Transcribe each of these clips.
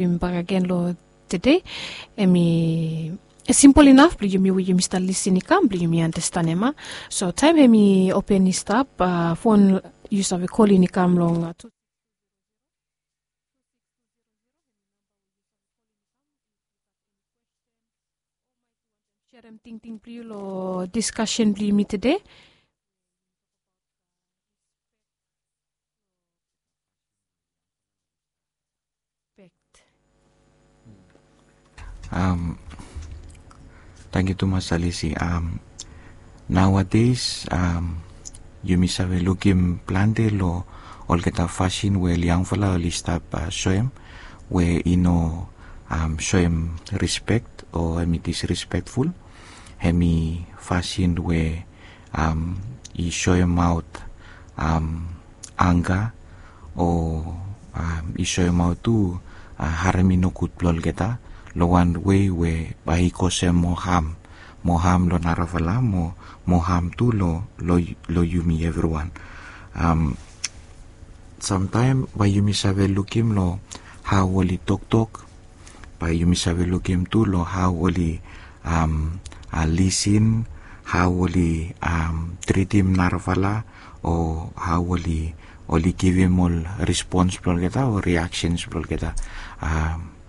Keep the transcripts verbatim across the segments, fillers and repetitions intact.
Bak agen long tede, em i simpol inaf blong yumi we yumi stap lisin i kam blong yumi andastanem a. So taem em i open i stap, fon yu save kolin i kam long tu. Serem tingting blong yu long diskasen blong yumi tede. Tangkiu tumas Alisi. Naoades yumi save lukim plante long olgeta fasin we ol yangfala oli stap soem we i no soem rispek o em i disrispekful. Em i fasin we i soemaot anga o i soemaot tu harem i nogud blong olgeta long wan wei we bae i kosem moa ham, moa ham long narafala, moa ham tu long yumi evriwan. Samtaem bae yumi save lukim long hao oli toktok, bae yumi save lukim tu long hao oli lisin, hao oli tritim narafala, o hao oli givim ol rispons blong olgeta o riaksens blong olgeta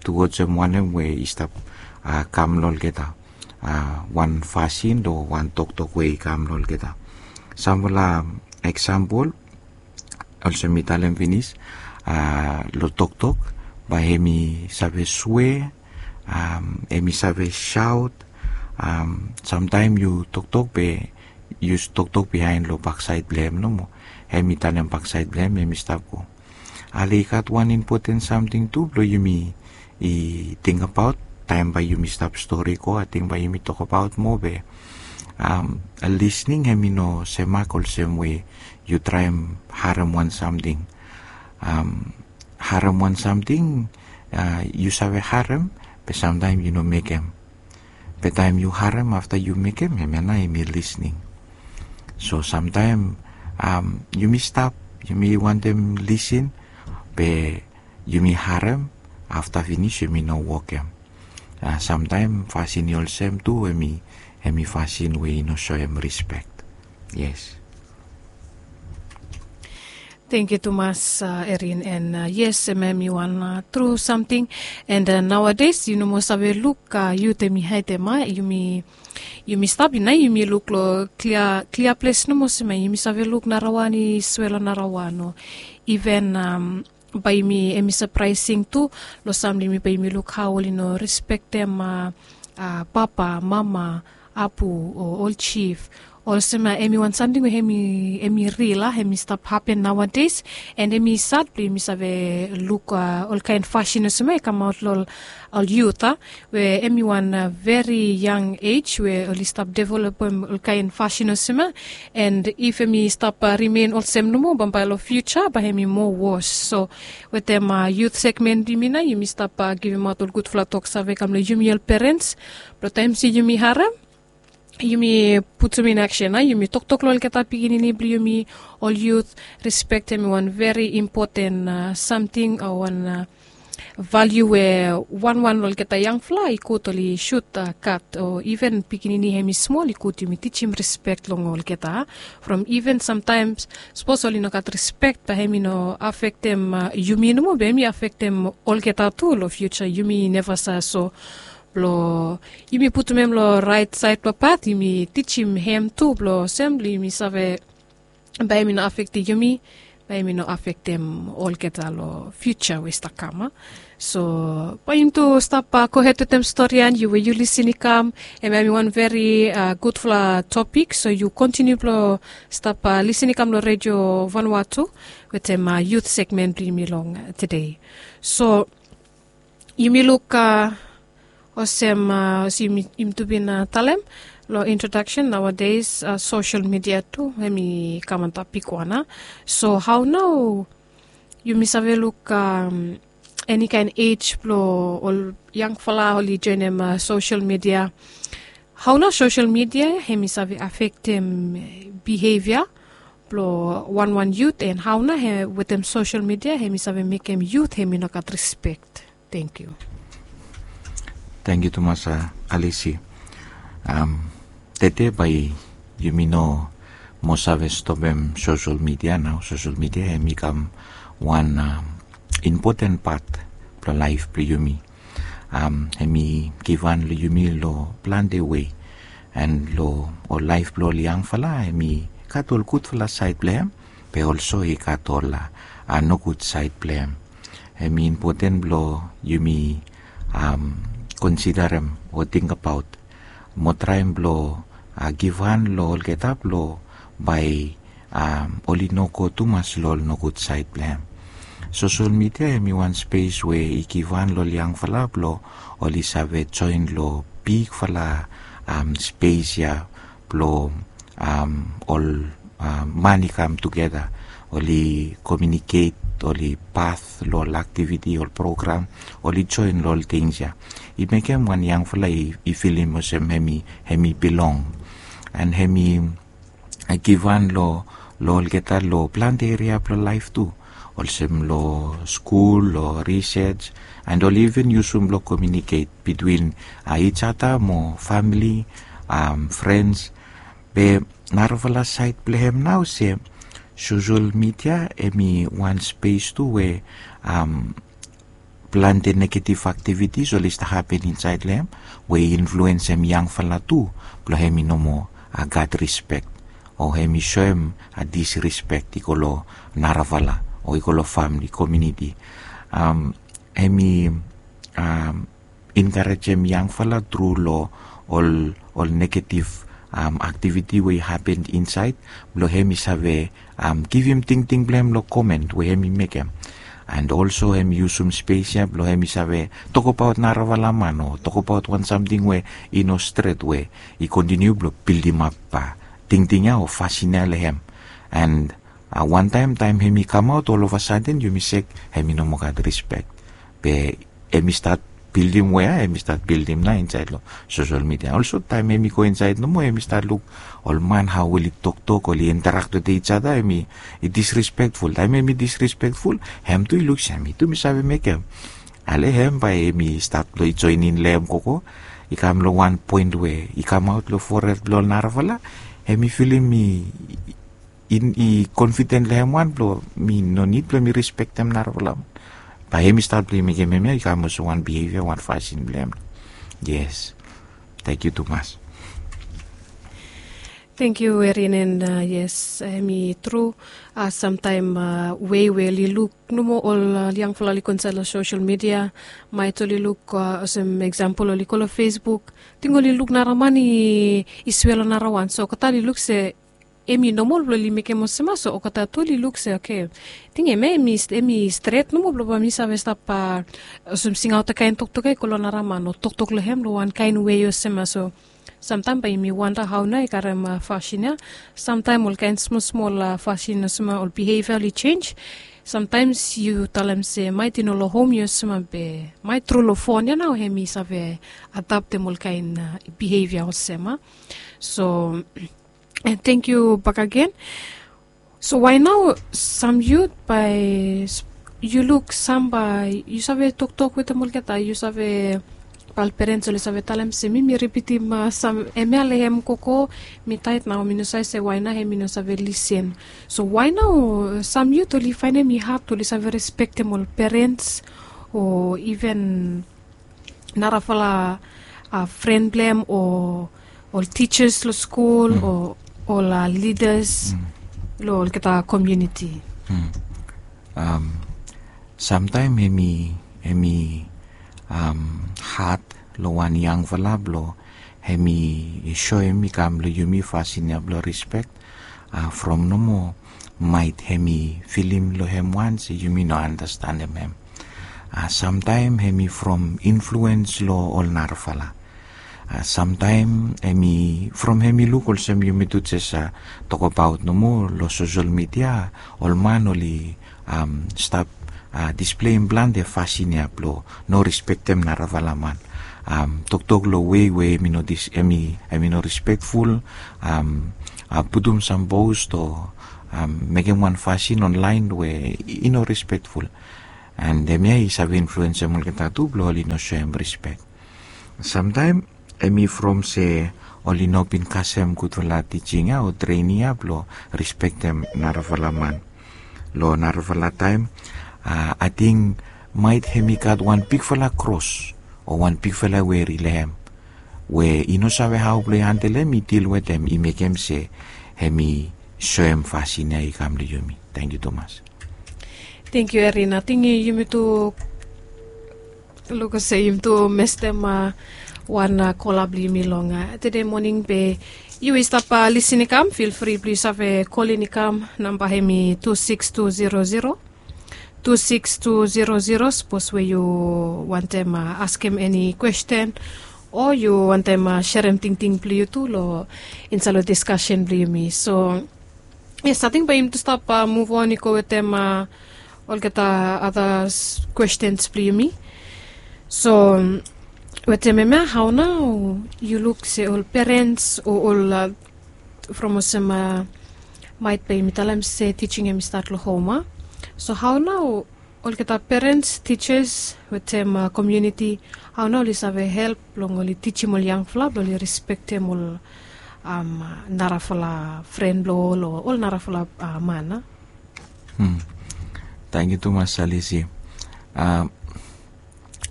tu olsem wanem we i stap kam long olgeta, wan fasin o wan toktok we i kam long olgeta. Samfala eksampol, olsem mi talem finis, long toktok, bae em i save swe, em i save saot. Samtaem yu toktok be yu toktok biaen long baksaed blong em nomo. Em i tanem baksaed blong em, em i stap go. Ale i gat wan impoten samting tu blong yumi i tingbaot taem bae yumi stap stori go, ating bae yumi tokbaot moa be lisning em i no semak olsem we yu traem harem wan samting. Harem wan samting, yu save harem be samtaem yu no mekem. Be taem yu harem afta yu mekem, hemia nao em i lisning. So samtaem yumi stap, yumi wantem lisin, be yumi harem, afta finis yumi no wokem. Samtaem fasin i olsem tu em i fasin we i no soem rispek. Yes. Tangkiu tumas, Erin, and yes, em em i wan tru samting. And naoades yu no moa save luk yut em i haedem, a, yumi stap i nao yumi luk long klia ples nomo olsem, yumi save luk narawan i swe long narawan o iven bae yumi, em i sapraesing tu long sam blong yumi bae yumi luk hao oli no respektem papa, mama, apu o ol jif. Olsem em i wan samting we em i ril, a, em i stap hapen naoades. And em i sad blong yumi save luk olkaen fasin olsem i kamaot long ol yut, a, we em i wan veri yang ej we oli stap developem olkaen fasin olsem. And if em i stap rimen olsem nomo bambae long fiuja bae em i moa wos. So wetem yut segmen blong yumi nao yumi stap givimaot ol gudfala toksave kam long yumi ol perens blong taem se yumi harem, yumi putum in aksen, a, yumi toktok long olgeta pikinini blong yumi, ol yut. Rispek em i wan veri impoten samting o wan valiu we wanwan long olgeta yangfala i gud oli sut gat o iven pikinini em i smol i gud yumi tijim rispek long olgeta. From iven samtaem sapos oli no gat rispek bae em i no afektem yumi nomo be em i afektem olgeta tu long fiuja, yumi neva save. So blong yumi putum em long raet saed blong pat, yumi tijim hem tu blong olsem blong yumi save bae em i no afektem yumi, bae em i no afektem olgeta long fiuja we i stap kam, a. So bae yumi tu stap gohed wetem stori ya, yu we yu lisin i kam, em ya em i wan veri gudfala topik. So yu kontiniu blong stap lisin i kam long Redio Vanuatu wetem yut segmen blong yumi long tede. So yumi luk olsem, olsem yumi tu bin talem long introdaksen, naoades sosel midia tu em i kam antap bigwan. So hao nao yumi save luk eni kaen ej blong ol yangfala oli joenem sosel midia? Hao nao sosel midia em i save afektem bihevia blong wanwan yut, and hao nao wetem sosel midia em i save mekem yut em i no gat rispek? Thank you. Thank you tumas, Alisi. Tete bae yumi no moa save stopem social media nao. Social media hemi kam wan impoten pat blong laef blong yumi. Hemi givhan long yumi long plante wei. An long ol laef blong ol yangfala hemi gat ol gudfala saed blong hem, be olso i gat ol nogud saed blong hem. Hemi impoten blong yumi konsidarem o tingbaot mo traem blong givhan long olgeta blong bae oli no go tumas long ol nogud saed blong hem. Sosol midia hemi wan spes we i givhan long ol yangfala blong oli save joen long bigfala spes ya blong ol man i kam tugeta, oli komiuniket, oli pas long ol aktiviti, ol program, oli joen long ol tings ya. I mekem wan yangfala i filim olsem hemi bilong. An hemi givhan long olgeta long plante eria blong laef tu, olsem long skul, long risej, an oli iven yusum blong komiuniket bitwin ijada mo famili, frens. Be narafala saed blong hem nao se sosol midia hemi wan spes tu we plante negetiv aktivitis oli stap hapen insaed long hem we i influensem yangfala tu blong hem i no moa gat rispek, o hem i soem disrispek i go long narafala o i go long famili, komiuniti. Hem i enkarejem yangfala tru long ol negetiv aktiviti we i hapen insaed blong hem i save givim tingting blong hem long komen we hem i mekem. An olso hem i yusum spes ya blong hem i save tokbaot narafala man o tokbaot wan samting we i no stret we i kontiniu blong bildimap tingting ya o fasin ya long hem. An wantaem taem hem i kamaot olovasaden yumi sek hem i no moa gat rispek. Be hem i stat bildim we ya hem i stat bildim nao insaed long sosol midia. Olso taem hem i go insaed nomo hem i stat luk ol man hao oli toktok, oli interak wetem ijada, hem i disrispekful. Taem hem i disrispekful hem tu i luk se mi tu mi save mekem. Ale hem bae hem i stat blong i joenem long hem koko. I kam long wan poen we i kamaot long fored blong ol narafala, hem i filim i i konfiden long hem wan blong mi no nid blong mi rispektem narafala man. Bae hem i stat blong i mekem hemia i kam olsem wan bihevia, wan fasin blong hem. Yes. Tangkiu tumas. Tangkiu Erin. An yes, hem i tru. Samtaem wei we oli luk nomo ol yangfala oli go insaed long sosol midia, maet oli luk olsem eksampol oli go long Facebook, ting oli luk nara man i swe long nara wan, so olgeta oli luk se hem i nomol blong oli mekem olsem ya. So olgeta tu oli luk se oke, ting hemia hem i stret nomo blong bae mi save stap olsem singaot kaen toktok ya i go long nara man o toktok long hem long wan kaen wei olsem ya. So samtaem bae yumi wanda hao nao i karem fasin ya. Samtaem ol kaen smol smol fasin olsem ya, ol bihevia oli jenj. Samtaem yu talem se maet i no long hom yu olsem ya, be maet tru long fon ya nao hem i save adaptem ol kaen bihevia olsem ya. So tangkiu bakegen. So wae nao sam yut bae yu luk sam bae yu save toktok wetem olgeta, yu save, bae ol perens oli save talem se mi mi ripitim sam hemia long hem koko, mi taet nao mi no save se wae nao hem i no save lisin. So wae nao sam yut oli faenem i had oli save respektem ol perens o iven narafala fren blong hem o ol tijas long skul o ol lidas long olgeta komuniti. Samtaem hem i had long wan yangfala blong hem i soem i kam long yumi fasin ya blong rispek from nomo maet hem i filim long hem wan se yumi no anastanem hem. Samtaem hem i from influens long ol narafala. Samtaem hem i from hem i luk olsem yumi tu jes tokbaot nomo long sosol midia, ol man oli stap displeim plante fasin ya blong no rispektem narafala man. Toktok long wei we hem i no dis- hem i hem i no rispekful. Putum sam post o mekem wan fasin onlaen we i no rispekful. And hemia i save influensem olgeta tu blong oli no soem rispek. Samtaem hemi from se oli no bin kasem gudfala tijing ya o trening ya blong rispektem narafala man. Long narafala taem, ating maet hemi gat wan bigfala kros o wan bigfala weri long hem, we i no save hao blong i handelem, i dil wetem, i mekem se hemi soem fasin ya i kam long yumi. Tangkiu tumas. Tangkiu, Erin. Ating yumi tu luk olsem yumi tu mestem wan kola blong yumi long tede moning. Be yu i stap lisin i kam, fil fri blong yu save kolin i kam. Namba hemi tu siks tu zero zero, tu siks tu zero zero. Sapos we yu wantem askem eni kwesten o yu wantem serem tingting blong yu tu long insaed long diskasen blong yumi. So yes, ating bae yumi tu stap muv on i go wetem olgeta ada kwestens blong yumi. So wetem hemia, hao nao yu luk se ol perens o ol, from olsem maet bae yumi talem se tijing hemi stat long hom, a? So hao nao olgeta perens, tijas wetem komuniti, hao nao oli save help blong oli tijim ol yangfala blong oli rispektem ol narafala fren blong ol o ol narafala man, a? Tangkiu tumas, Salisi.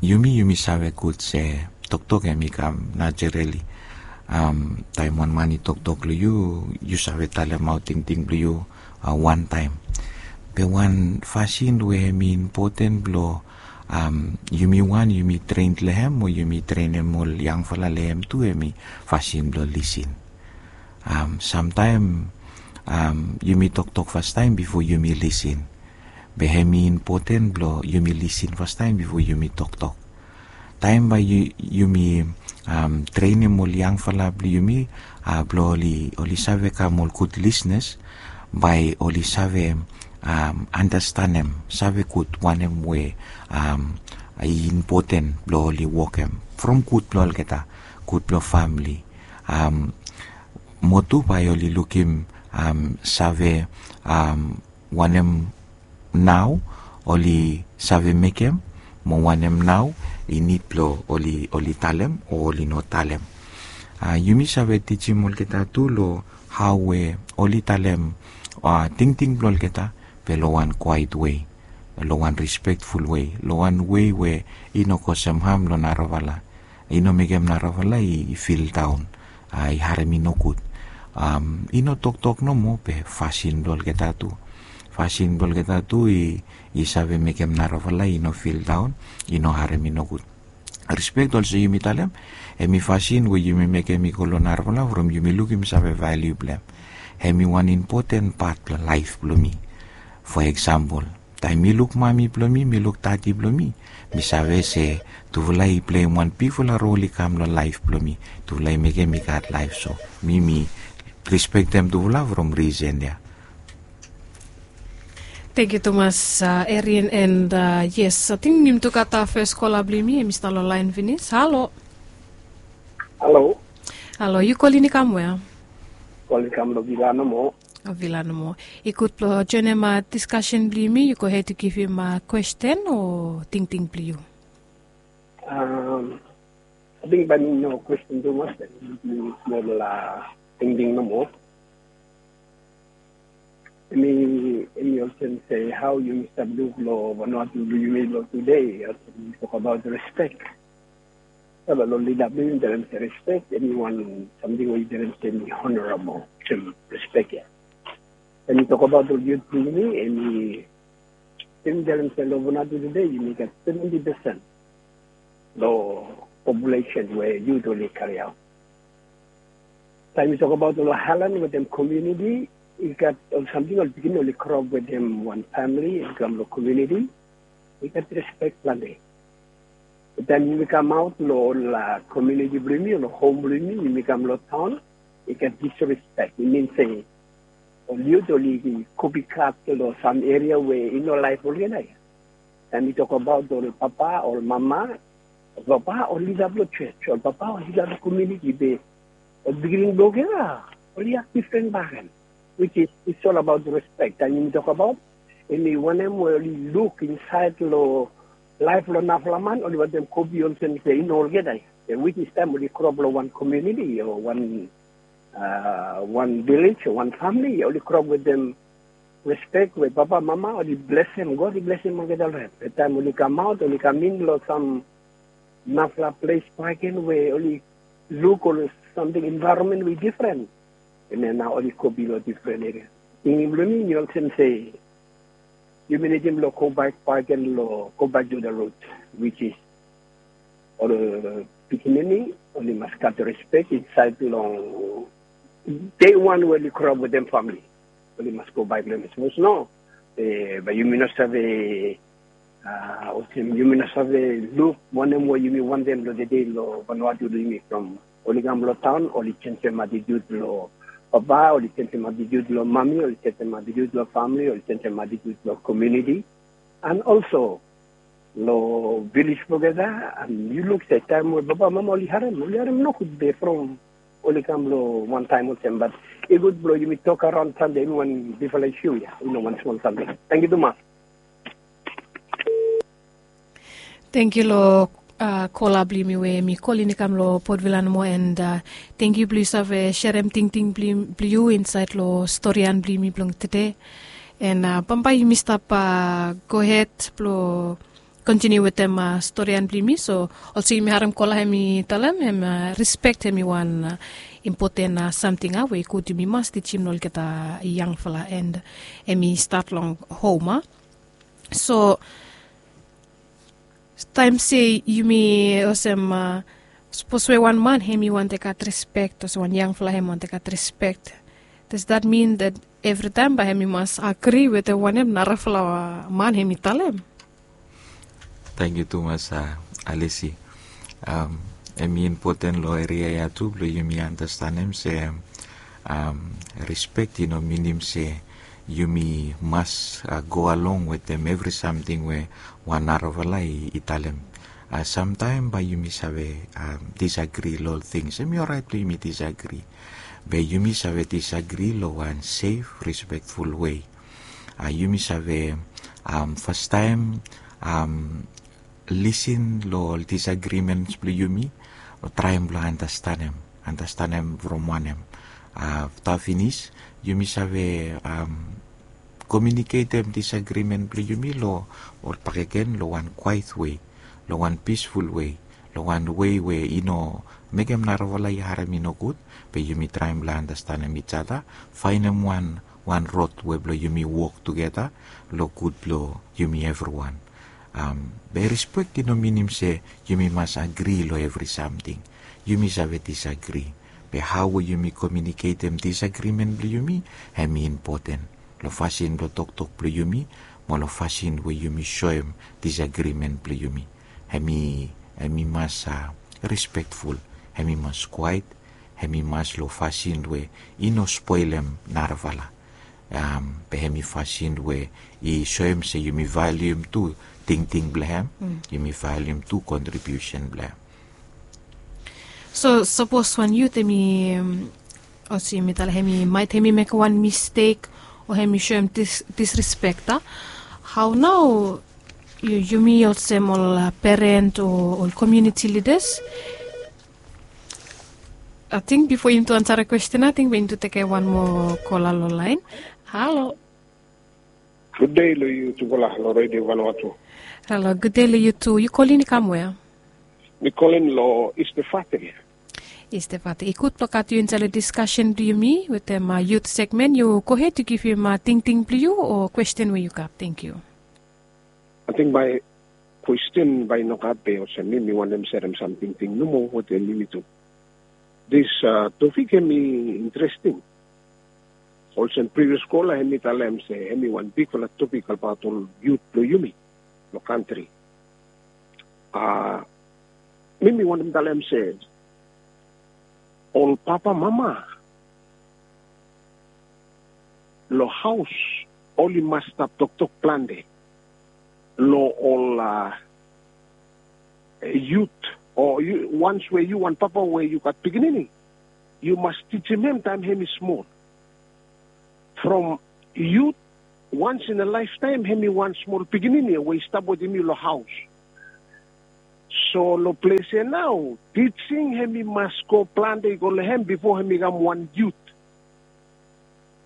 Yumi, yumi save gud se toktok hemi kam najerali. Taem wan man i toktok long yu, yu save talemaot tingting blong yu wantaem. Be wan fasin we hemi impoten blong yumi wan yumi tren long hem o yumi trenem ol yangfala long hem tu, hemi fasin blong lisin. Samtaem yumi toktok fastaem bifo yumi lisin. Be hemi impoten blong yumi lisin fastaem bifo yumi toktok. Taem bae yumi trenem ol yangfala blong yumi blong oli save kam ol gud lisnas, bae oli save andastanem, save gud wanem we i impoten blong oli wokem from gud blong olgeta, gud blong famili. Mo tu bae oli lukim, save wanem nao oli save mekem, mo wanem nao i nid blong oli talem o oli no talem. Yumi save tijim olgeta tu long hao we oli talem tingting blong olgeta, be long wan kwaet wei, long wan rispekful wei, long wan wei we i no kosem ham long narafala, i no mekem narafala i fildaon, i harem i nogud. I no toktok nomo, be fasin blong olgeta tu, fasin blong olgeta tu i save mekem narafala i no fildaon, i no harem i nogud. Rispek olsem yumi talem, hemi fasin we yumi mekem i go long narafala from yumi lukim save valiu blong hem. Hemi wan impoten pat blong laef blong mi. Fo eksampol, taem mi luk mami blong mi, mi luk dadi blong mi, mi save se tufala i pleim wan bigfala rol i kam long laef blong mi. Tufala i mekem mi gat laef, so mi mi rispektem tufala from risen ya. Tangkiu tumas, Erin, and yes, ating yumi tu gat fes kola blong yumi, hemi stap long laen finis. Halo. Halo. Halo, yu kolin i kam we? Kolin i kam long vila nomo. Vila nomo. I gud blong joenem diskasen blong yumi, yu gohed yu givim kwesten o tingting blong yu. Ating bae mi no kwesten tumas, bae mi smol tingting nomo. Hemi, hemi olsem se hao yumi stap luk long Vanuatu blong yumi long tude, olsem yumi tokabaot rispek. Save long lida blong yumi talem se rispek hemi wan samting we yumi talem se hemi honorabol, olsem rispek ya. Hemi tokabaot ol yut blong yumi, hemi, yumi talem se long Vanuatu tude yumi gat seventi pesen long populesen we yut oli kariaot. Taem yu tokabaot long aelan wetem komuniti, i gat ol samting, ol pikinini oli groap wetem wan famili, i kam long komuniti, i gat rispek plante. Taem yumi kamaot long ol komuniti blong yumi o long hom blong yumi, yumi kam long taon, i gat disrispek. I min se ol yut oli kopikat long sam eria we i no laef olgeta ya. Taem yu tokabaot ol papa, ol mama, ol papa, ol lida blong jos, ol papa, ol lida blong komuniti, be ol pikinini blong olgeta oli aks difren bakegen, which is, it's all about respect. Taem yumi tokabaot Em i wanem we oli luk insaed long laef blong narafala man, oli wantem kopi olsem se i no olgeta ya. Which is taem oli grow up long wan komuniti o wan wan vilej o wan famili, oli grow up wetem respek we papa, mama oli blesem, God i blesem olgeta long hem. Be taem oli kamaot, oli kam in long sam narafala ples bakegen we oli luk ol samting, envaeronmen we i difren. Hemia nao oli kopi long difren eria. Tingting blong mi i olsem se yumi nidim long go back bakegen long go back to the roots, which is ol pikinini oli mas gat respek insaed long dei wan we oli grow up wetem famili. Oli mas go back long hem. Sapos no, bae yumi no save, olsem yumi no save luk wanem we yumi wantem long tede long Vanuatu blong yumi from oli kam long taon, oli jenisim atitiut blong papa, oli jenisim atitiut blong mami, oli jenisim atitiut blong famili, oli jenisim atitiut blong komuniti. And also long vilej blong olgeta, and yu luk se taem we papa, mama oli harem, oli harem nogud be from oli kam long wan taem olsem. Bat i gud blong yumi tok araon Sande, i no wan bigfala isu ya, i no wan smol samting. Tangkiu tumas. Tangkiu long kola blong yumi we hemi kol in i kam long Port Vila nomo, and tangkiu blong yu save serem tingting blong yu insaed long storian blong yumi blong tede. And bambae yumi stap gohed blong kontiniu wetem storian blong yumi. So olsem yumi harem kola hemi talem hem, respek hemi wan impoten samting a we i gud yumi mas tijim long olgeta yangfala, and hemi stat long hom a. So taem se yumi olsem, sapos we wan man hemi wantem gat respek, olsem wan yangfala hemi wantem gat respek, does that mean that evritaem bae hemi mas agri wetem wanem narafala man hemi talem? Tangkiu tumas, Alisi. Hemi impoten long eria ya tu blong yumi andastanem se respek i no minim se yumi mas go along wetem evri samting we wan narafala i talem. Samtaem bae yumi save disagri long ol tings. Hemi oraet blong yumi disagri, be yumi save disagri long wan sef, respekful wei. Yumi save fastaem lisin long ol disagrimens blong yumi, o traem blong andastanem, andastanem from wanem. Afta finis yumi save komiuniketem disagrimen blong yumi long ol bakegen long wan kwaet wei, long wan pisful wei, long wan wei we i no mekem narafala i harem i nogud, be yumi traem blong andastanem ijata, faenem wan wan rod we blong yumi wok tugeta long gud blong yumi evriwan. Be respek i no minim se yumi mas agri long evri samting. Yumi save disagri, be hao we yumi komiuniketem disagrimen blong yumi, hemi impoten long fasin blong toktok blong yumi mo long fasin we yumi soem disagrimen blong yumi. Hemi, hemi mas respekful, hemi mas kwaet, hemi mas long fasin we i no spolem narafala. Be hemi fasin we i soem se yumi valium tu tingting blong hem, yumi valium tu kontribiusen blong hem. So sapos wan yut hemi, olsem mi talem, hemi maet hemi mekem wan mistek o hemi soem disrespek, a, hao nao yumi olsem ol peren o ol komuniti lidas? Ating bifo yumi tu ansarem kwestin, ating bae yumi tu tekem wan moa kola long laen. Halo. Gudde long yu tufala long Redio Vanuatu. Halo, gudde long yu tu. Yu kolin i kam wea? Mi kolin long East Efate. East Efate. I gud blong gat yu insaed long diskasen blong yumi wetem yut segmen. Yu gohed, yu givim tingting blong yu o kwestin we yu gat. Tangkiu. Ating bae kwestin bae i no gat be olsem mi, mi wantem serem sam tingting nomo wetem yumi tu. Dis topik hemi interesting. Olsem privias kola hemi talem se hemi wan bigfala topik abaot ol yut blong yumi long kantri. A, mi, mi wantem talem se ol papa, mama long haos oli mas stap toktok plante long ol yut, o wans we yu wan papa we yu gat pikinini, yu mas tijim hem taem hemi smol. From yut Wans in a laeftaem hem i wan smol pikinini we i stap wetem yu long haos. So long ples ya nao, tijing hem i mas go plante i go long hem bifo hem i kam wan yut.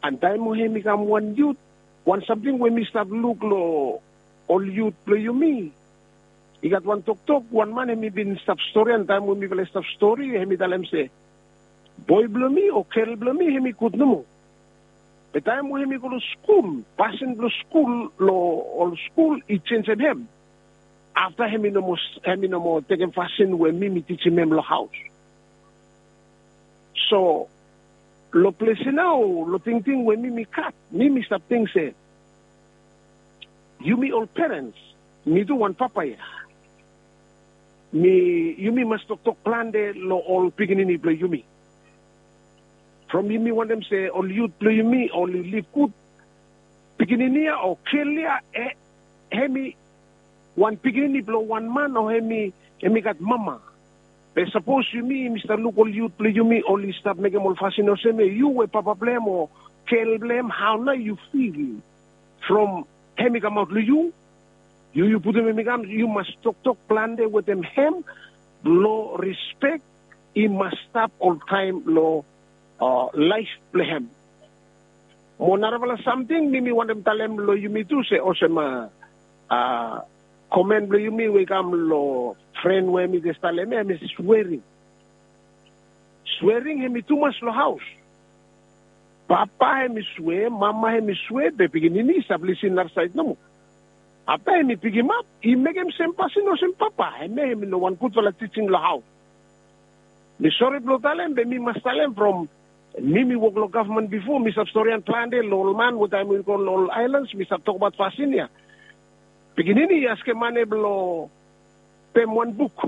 An taem we hem i kam wan yut, wan samting we mi stap luk long ol yut blong yumi, i gat wan toktok wan man hem i bin stap stori, an taem we mifala i stap stori hem i talem se, boe blong mi o gel blong mi hem i gud nomo. Be taem we hem i go long skul, pasin blong skul long ol skul i jenjem hem. Afta hem i no moa tekem fasin we mi mi tijim hem long haos. So long ples ya nao, long tingting we mi mi gat, mi mi stap ting se, yumi ol perens, mi tu wan papa ya, mi yumi mas toktok plante long ol pikinini blong yumi. From yumi wantem se ol yut blong yumi oli liv gud, pikinini ya o gel ya, hem i wan pikinini blong wan man o hem i gat mama. Be sapos yumi yumi stap luk ol yut blong yumi oli stap mekem ol fasin olsem ya, yu we papa blong hem o gel blong hem, hao nao yu fil? From hem i kamaot long yu, yu yu putum hem i kam, yu mas toktok plante wetem hem blong rispek i mas stap oltaem long laef blong hem. Mo narafala samting mi mi wantem talem long yumi tu se olsem, a komen blong yumi we i kam long fren we hem i jes talem ya, hem i swering. Swering hem i tumas long haos. Papa hem i swe, mama hem i swe, be pikinini i stap lisin narasaed nomo. Afta hem i pikimap i mekem sem pasin olsem papa, hemia hem i no wan gudfala tijing long haos. Mi sore blong talem be mi mas talem from mi mi wok long gavman bifo, mi stap storian plante long ol man we taem we i go long ol aelans mi stap tokbaot fasin ya. Pikinini i askem mane blong pem wan buk.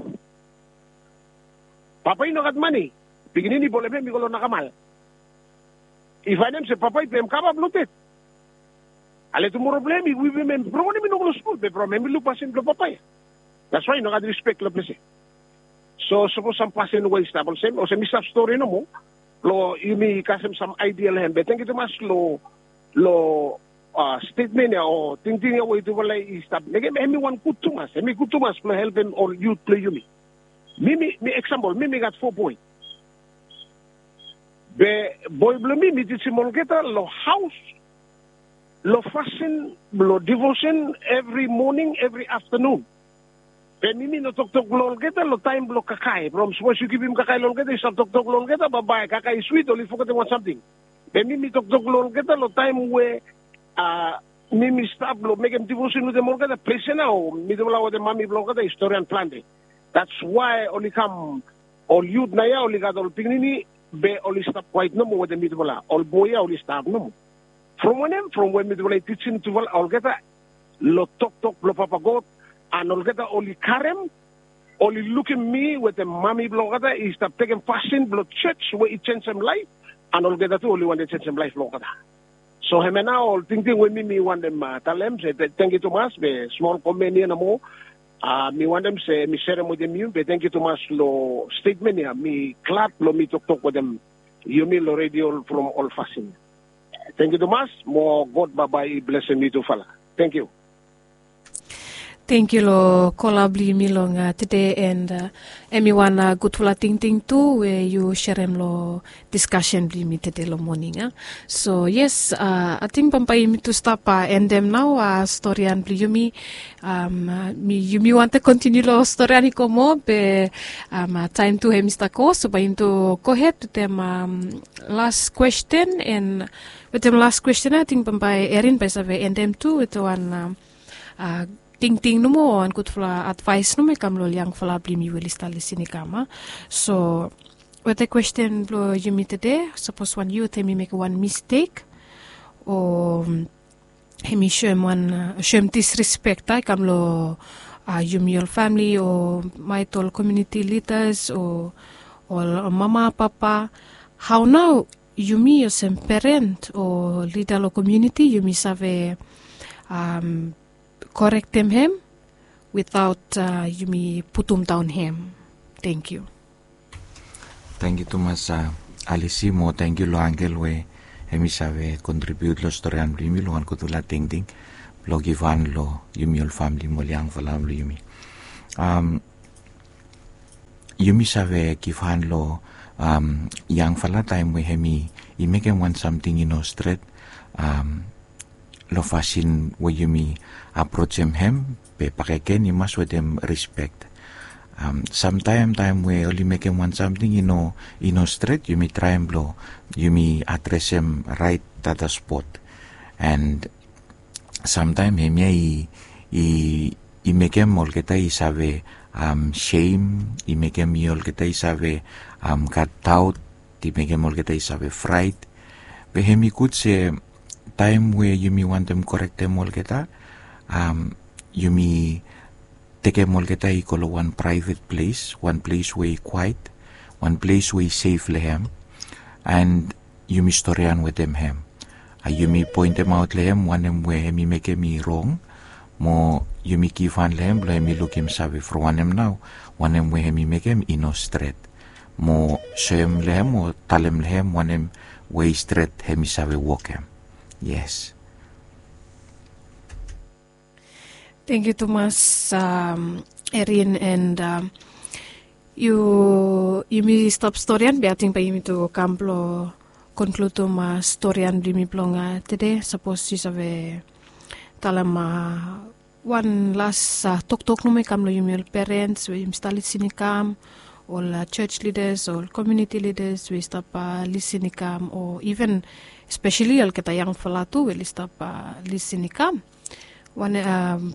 Papa i no gat mane. Pikinini i bolem hem i go long nakamal. I faenem se papa i pem kava blong ded. Ale tumoro blong hem i wipim hem from wanem i no go long skul be from hem i luk pasin blong papa ya. That's why i no gat rispek long ples ya. So sapos sam pasin we i stap olsem olsem i stap stori nomo blong yumi kasem sam aidia long hem be tengiu tumas long long stetmen ya o tingting ya we yutufala i stap mekem hem i wan gud tumas, hem i gud tumas blong helpem ol yut blong yumi. Mi mi mi eksampol mi mi gat fo boe. Be boe blong mi mi tijim olgeta long haos long fasin blong divosen evri moning evri aftanun. Be mi mi no toktok long olgeta long taem blong kakae from sapos yu givim kakae long olgeta yu stap toktok long olgeta baebae kakae i swit oli fogetem wan samting. Be mi mi toktok long olgeta long taem we a mi mi stap long mekem divosen wetem olgeta ples ya nao mitufala wetem mami blong olgeta i storian plante. That's why oli kam ol yut naoia oli gat ol pikinini be oli stap kwaet nomo wetem mitufala ol boe ya oli stap nomo. From wanem from we mitufala i tijim tufala olgeta long toktok blong papa god an olgeta oli karem oli lukim mi wetem mami blong olgeta i stap tekem pasin blong joj we i jenjem laef an olgeta tu oli wantem jenjem laef blong olgeta. So hemia nao ol tingting we mi mi wantem talem se tengiu tumas be smol komen ya nomo. Mi wantem se mi serem wetem yu be tengiu tumas long stetmen ya mi glad blong mi toktok wetem yumi long redio from ol fasin. Tengiu tumas mo god baebae i blesem yutufala. Tengiu. Tengiu long kola blong yumi long tede and em i wan gudfala tingting tu we yu serem long diskasen blong yumi tede long moning a. So yes, ating bambae yumi tu stap endem nao storian blong yumi. Yumi wantem kontiniu long storian i go moa be taem tu hem i stap go so bae yumi tu gohed wetem las kwesten and wetem las kwesten ating bambae erin bae i save endem tu wetem wan tingting nomo o wan gudfala advaes nomo i kam long ol yangfala blong yumi we oli stap lisin i kam a. So wetem kwesten blong yumi tede sapos wan yut hem i mekem wan mistek o hem i soem wan soem disrespek a i kam long yumi ol famili o maet ol komiuniti lidas o ol mama papa, hao nao yumi olsem peren o lida long komiuniti yumi save korektem hem witaot yumi putumdaon hem? Tengiu. Tengiu tumas alisi mo tengiu long angel we Hemi save kontribiut long storian blong yumi long wan gudfala tingting blong givhan long yumi ol famili mo ol yangfala blong yumi. Am, yumi save givhan long, am, yangfala taem we hemi i mekem wan samting i no stret, am, long fasin we yumi aprojem hem, be bakegen i mas wetem rispek. Am, samtaem taem we oli mekem wan samting i no, i no stret, yumi traem blong yumi adresem raet data spot. And samtaem hemia i, i, i mekem olgeta i save, am, sem, i mekem i olgeta i save, am, gat daot, i mekem olgeta i save fraet. Be hemi gud se taem we yumi wantem korektem olgeta, am, yumi tekem olgeta i go long wan praevet ples, wan ples we i kwaet, wan ples we i sef long hem, and yumi storian wetem hem. A, yumi poentemaot long hem wanem we hemi mekem i rong, mo yumi givhan long hem blong hemi lukim save from wanem nao wanem we hemi mekem i no stret, mo soem long hem o talem long hem wanem we i stret hemi save wokem. Yes. Tangkiu tumas, um, Erin, and, um, yu, yumi stap storian, be ating bae yumi tu kam blong konkludim, uh, storian blong yumi blong, uh, tede. Sapos yu save talem, uh, wan las, uh, toktok nomo i kam long yumi ol perens we yumi stap lisin i kam, ol, uh, church leaders, ol community leaders we stap, uh, lisin i kam, o even especially olgeta yangfala tu we oli stap, uh, lisin i kam. Wanem, um,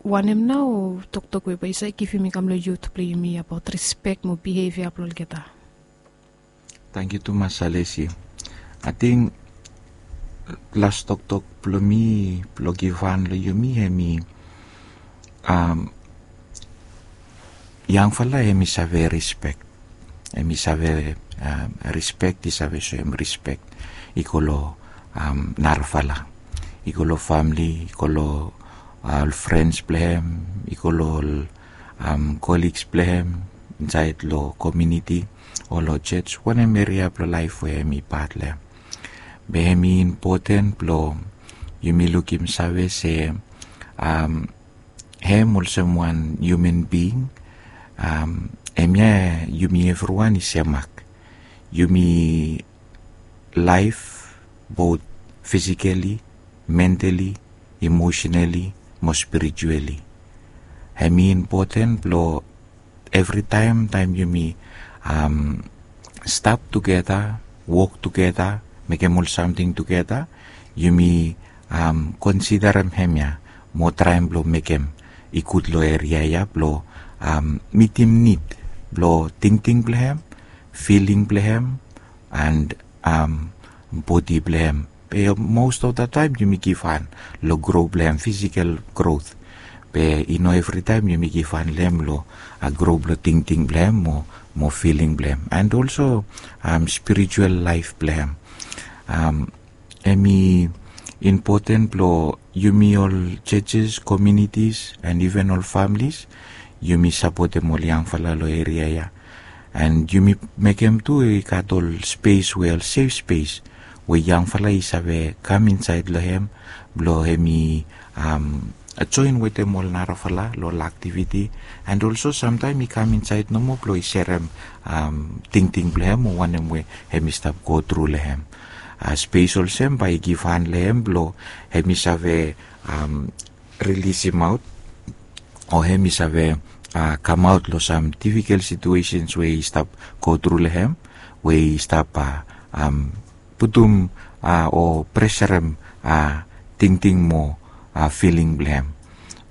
wanem nao toktok we bae yu save givim i kam long yut blong yumi abaot rispek mo bihevia blong olgeta? Tangkiu tumas, Alesi. Ating las toktok blong mi blong givhan long yumi hemi, um, yangfala hemi save rispek. Hemi save, um, rispek, i save soem rispek i go long, um, narafala, i go long famili, i go long, uh, ol frens blong hem, i go long ol, um, koligs blong hem insaed long komuniti o long jos, wanem eria blong laef we hemi pat long hem. Be hemi impoten blong yumi lukim save se, um, hem olsem wan hiuman bing, um, hemia yumi evriwan i semak. Yumi laef both physically, mentally, emotionally mo spiritually. Hemi impoten blong evritaem taem yumi, um, stap tugeta, wok tugeta, mekem ol samting tugeta, yumi, um, konsiderem hemia mo traem blong mekem i gud long eria ya blong, um, mitim nid blong tingting blong hem, filing blong hem, and, um, bodi blong hem. Be most of the time yumi givhan long gro blong hem, physical growth. Be i no evritaem yumi givhan long hem long, uh, gro blong tingting blong hem mo, mo filing blong hem, and also, um, spiritual laef blong hem. Um, hemi impoten blong yumi ol churches, communities, and even ol families, yumi sapotem ol yangfala long eria ya. And yumi mekem tu i gat ol spes we ol safe space we yangfala i save kam insaed long hem blong hemi, um, joen wetem ol narafala long ol aktiviti. And also samtaem i kam insaed nomo blong i serem, um, tingting blong hem o wanem we hemi stap go tru long hem. Uh, spes olsem bae i givhan long hem blong hemi save, um, rilisim aot o hemi save, uh, kamaot long sam difikel situesens we i stap go tru long hem, we i stap, uh, um, putum, uh, o preserem, uh, tingting mo, uh, filing blong hem,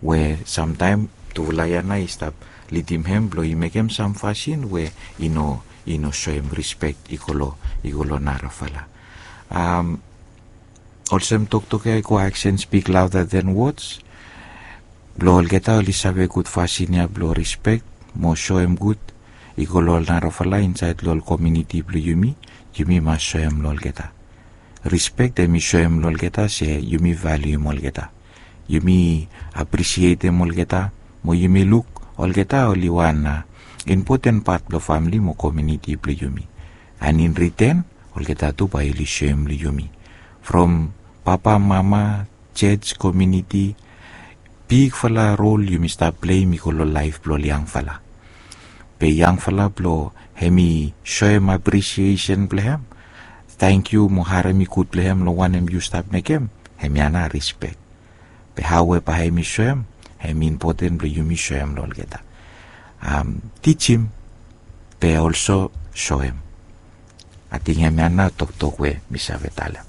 we samtaem tufala ya nao i stap lidim hem blong i mekem sam fasin we i no, i no soem rispek i go long, i go long narafala. Um, olsem toktok ya i go, action speak louder than words. Blong olgeta oli save gud fasin ya blong rispek mo soem gud i go long ol narafala insaed long ol komuniti blong yumi, yumi mas soem long olgeta. Rispek hemi soem long olgeta se yumi valium olgeta. Yumi apresietem olgeta mo yumi luk olgeta oli wan, uh, impoten pat blong famili mo komuniti blong yumi. And in return, Olgeta tu bae oli soem long yumi from papa, mama, jej, komiuniti. Bigfala rol yumi stap pleim i go long laef blong ol yangfala. Be yangfala blong hem i soem apresiesen blong hem, tangkiu mo harem i gud blong hem long wanem yu stap mekem, hemia nao rispek. Be hao we bae hem i soem, hem i impoten blong yumi soem long olgeta. Tijim be olso soem. Ating hemia nao toktok we mi save talem.